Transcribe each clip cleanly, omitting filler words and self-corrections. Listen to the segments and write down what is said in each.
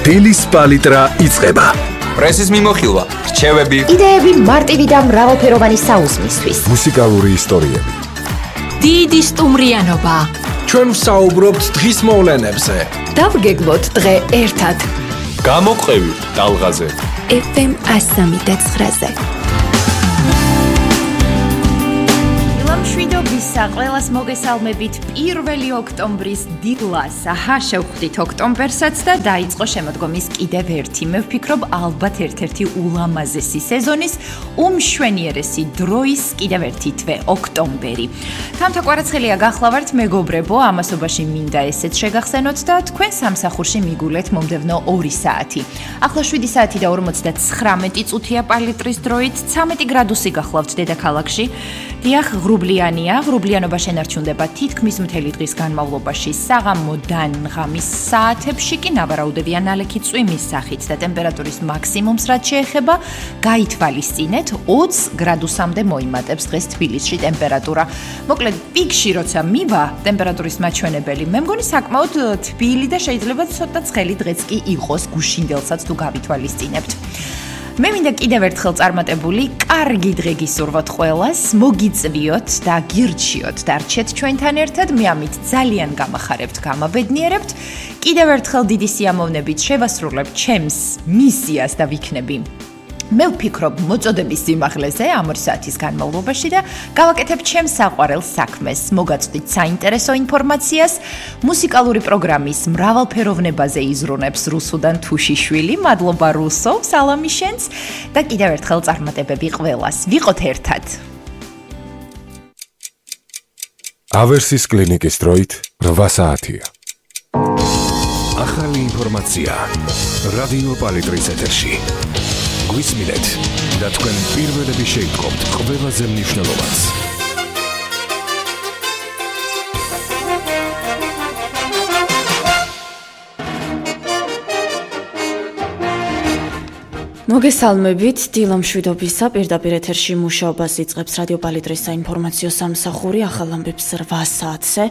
დილის პალიტრა იწყება. პრესის მიმოხილვა, რჩევები, იდეები მარტივი და მრავალფეროვანი საუზმისთვის. მუსიკალური ისტორიები. დიდი სტუმრიანობა. ჩვენ ვსაუბრობთ დღის მოვლენებზე. დავგეგმოთ დღე ერთად. გამოყევი ტალღაზე. FM 103.9-ზე. მშვიდობისა, ყველას მოგესალმებით 1 ოქტომბრის დილას. შევხვდით ოქტომბერსაც და დაიწყო შემოდგომის კიდევ ერთი. მე ვფიქრობ, ალბათ ერთ-ერთი ულამაზესი სეზონის, უმშვენიერესი დროის კიდევ ერთი თვე, ოქტომბერი. თამთა კვარაცხელია გახლავართ, მეგობრებო, ამასობაში მინდა ესეც შეგახსენოთ და თქვენ სამსახურში მიგულეთ მომდევნო 2 საათი. ახლა 7 საათი და 59 წუთია პალიტრის დროით, 13 გრადუსი გახლავთ დედაქალაქში. დიახ, ღრუბლიანობა შენარჩუნდება თითქმის მთელი დღის განმავლობაში. საღამოდან ღამის საათებში კი ნავარაუდებია ნალექი წვიმის სახით და ტემპერატურის მაქსიმუმს რაც შეეხება, გაითვალისწინეთ 20 გრადუსამდე მოიმატებს დღეს თბილისში ტემპერატურა. მოკლედ, პიკში როცა მივა ტემპერატურის მაჩვენებელი, მე მგონი საკმაოდ თბილი და შეიძლება ცოტა ცხელი დღეც კი იყოს გუშინდელსაც თუ გავითვალისწინებთ. მე მინდა კიდევ ერთხელ წარმატებული, კარგი დღე გისურვოთ ყველას, მოგიწვიოთ და გირჩიოთ და რჩეთ ჩვენთან ერთად, მე ამით ძალიან გამახარებთ, გამაბედნიერებთ. კიდევ ერთხელ დიდი სიამოვნებით შევასრულებთ ჩემს მისიას და ვიქნები. მე ვფიქრობ მოწოდების სიმაღლეზე ამ 2 საათის განმავლობაში და გავაკეთებ ჩემს საყვარელ საქმეს. მოგაწვდით საინტერესო ინფორმაციას, მუსიკალური პროგრამის მრავალფეროვნებაზე იზრუნებს რუსუდან თუშიშვილი. მადლობა რუსო, სალამი შენს და კიდევ ერთხელ წარმატებები ყველას. ვიყოთ ერთად. ავერსის კლინიკის დროით 8 საათია. ახალი ინფორმაცია რადიო პალიტრის ეთერში. გვისმინეთ და თქვენ პირველები შეიტყობთ ყველაზე მნიშვნელოვანს. მოგესალმებით, დილა მშვიდობისა, პირდაპირ ეთერში მუშაობას იწყებს რადიო პალიტრის საინფორმაციო სამსახური, ახალ ამბებს 8 საათზე.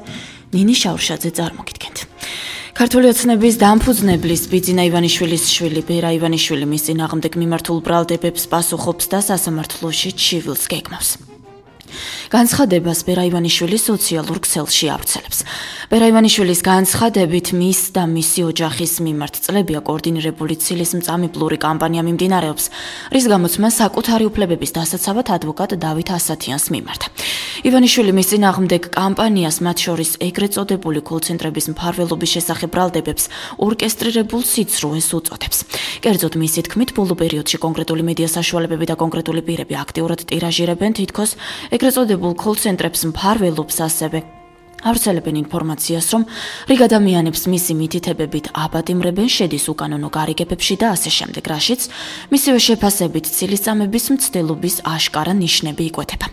ნინი შაურშაძე წარმოგიდგენთ. ქართული ოცნების დამფუძნებლის ბიძინა ივანიშვილის შვილი ბერა ივანიშვილი მის წინააღმდეგ მიმართულ ბრალდებებს პასუხობს და სასამართლოში ჩივილს გეგმავს. განცხადებას ბერა ივანიშვილი სოციალურ ქსელში ავრცელებს. ბერა ივანიშვილის განცხადებით მის და მისი ოჯახის მიმართ წლებია კოორდინირებული ცილის მწამებლური კამპანია მიმდინარეობს, რის გამოც მას საკუთარი უფლებების დასაცავად ადვოკატ დავით ასათიანს მიმართა. ივანიშვილი მის წინააღმდეგ კამპანიას, მათ შორის ეგრეთ წოდებული კოლცენტრების მფარველობის შესახებ ბრალდებებს ორკესტრირებულ სიცრუეს უწოდებს. კერძოდ მისი თქმით, ბოლო პერიოდში კონკრეტული მედია საშუალებები და კონკრეტული პირები აქტიურად ტირაჟირებენ თითქოს ეგრეთ წოდებულ კოლცენტრებს მფარველობს, ასევე ავრცელებენ ინფორმაციას, რომ რიგ ადამიანებს მისი მითითებებით აბატიმრებენ, შედის უკანონო გარიგებებში და ასე შემდეგ, რაშიც მისივე შეფასებით ცილისწამების მცდელობის აშკარა ნიშნები იკვეთება.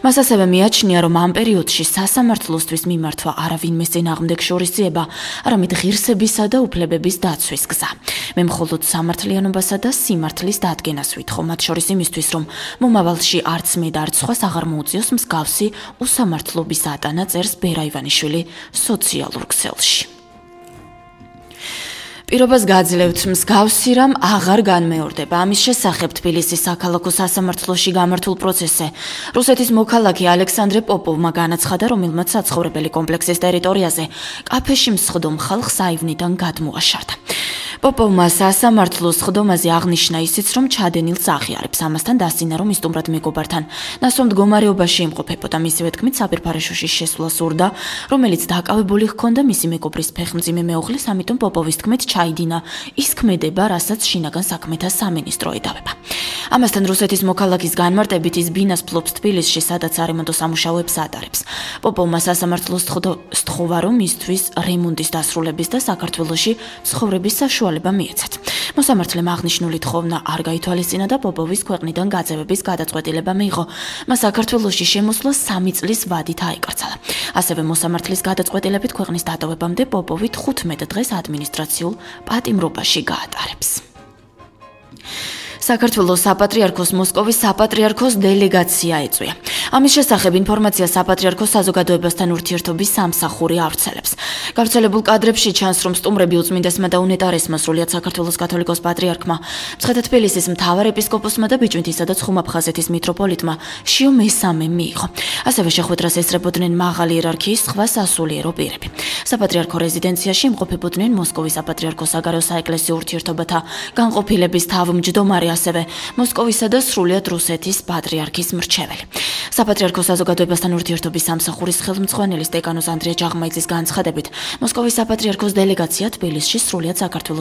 მას ასევე მიაჩნია, რომ ამ პერიოდში სასამართლოსთვის მიმართვა არავინმეს წინააღმდეგ შორისძიება, არამედ ღირსებისა და უფლებების დაცვის გზა. მე მხოლოდ სამართლიანობასა და სიმართლის დადგენას ვითხოვ, მათ შორის იმისთვის, რომ მომავალში არც მე და არც სხვას აღარ მოუწიოს მსგავსი უსამართლობის ატანა, წერს ბერა ივანიშვილი სოციალურ ქსელში. პირობას გაძლევთ, მსგავსი რამ აღარ განმეორდება. ამის შესახებ თბილისის საქალაქო სასამართლოში გამართულ პროცესზე რუსეთის მოქალაქე ალექსანდრე პოპოვმა განაცხადა, რომელმაც საცხოვრებელი კომპლექსის ტერიტორიაზე კაფეში მსხდომ ხალხს აივნიდან გადმოაშარდა. პოპოვმა სასამართლოს სხდომაზე აღნიშნა ისიც, რომ ჩადენილს აღიარებს. ამასთან დასცინა, რომ სტუმრად მეგობართან ნასვამ მდგომარეობაში იმყოფებოდა. მისივე თქმით, საბირფარეშოში შესვლა სურდა, რომელიც დაკავებული ჰქონდა მისი მეგობრის ფეხმძიმე მეუღლის, ამიტომ პოპოვის თქმით ჩაიდინა ის ქმედება, რასაც შინაგან საქმეთა სამინისტრო ედავება. ამასთან რუსეთის მოქალაქის განმარტებით ის ბინას ფლობს თბილისში, სადაც არემონტო სამუშაოებს ატარებს. პოპოვმა სასამართლოს სთხოვა, რომ მისთვის რემონტის დასრულების და საქართველოში ცხოვრების საშუალება მიეცათ. მოსამართლემ აღნიშნული თხოვნა არ გაითვალისწინა და პოპოვის ქვეყნიდან გაძევების გადაწყვეტილება მიიღო. მას საქართველოში შემოსვლა 3 წლის ვადით აეკრძალა. ასევე მოსამართლის გადაწყვეტილებით ქვეყნის დატოვებამდე პოპოვი 15 დღეს ადმინისტრაციულ პატიმრობაში გაატარებს. საქართველოს საპატრიარქოს მოსკოვის საპატრიარქოს დელეგაცია ეწვია. ამის შესახებ ინფორმაცია საპატრიარქოს საზოგადოებასთან ურთიერთობის სამსახური ავრცელებს. გავრცელებულ კადრებში ჩანს, რომ სტუმრები უწმინდესმა და უნეტარესმა, სრულიად საქართველოს კათოლიკოს პატრიარქმა, მცხეთა თბილისის მთავარ ეპისკოპოსმა და ბიჭვინთისა და ცხუმ-აფხაზეთის მიტროპოლიტმა შიო მესამე მიიღო. ასევე შეხვედრას ესწრებოდნენ მაღალი იერარქიის სხვა სასულიერო პირები. საპატრიარქო რეზიდენციაში იმყოფებოდნენ მოსკოვის საპატრიარქოს საგარეო საეკლესიო ურთიერთობათა განყოფილების თავმჯდომარე, ასევე მოსკოვისა და სრულიად რუსეთის პატრიარქის მრჩეველი. საპატრიარქო საზოგადოებასთან ურთიერთობის სამსახურის ხელმძღვანელის დეკანოს ანდრია ჯაღმაიძის განცხადებით, მოსკოვის საპატრიარქოს დელეგაცია თბილისში სრულიად საქართველოს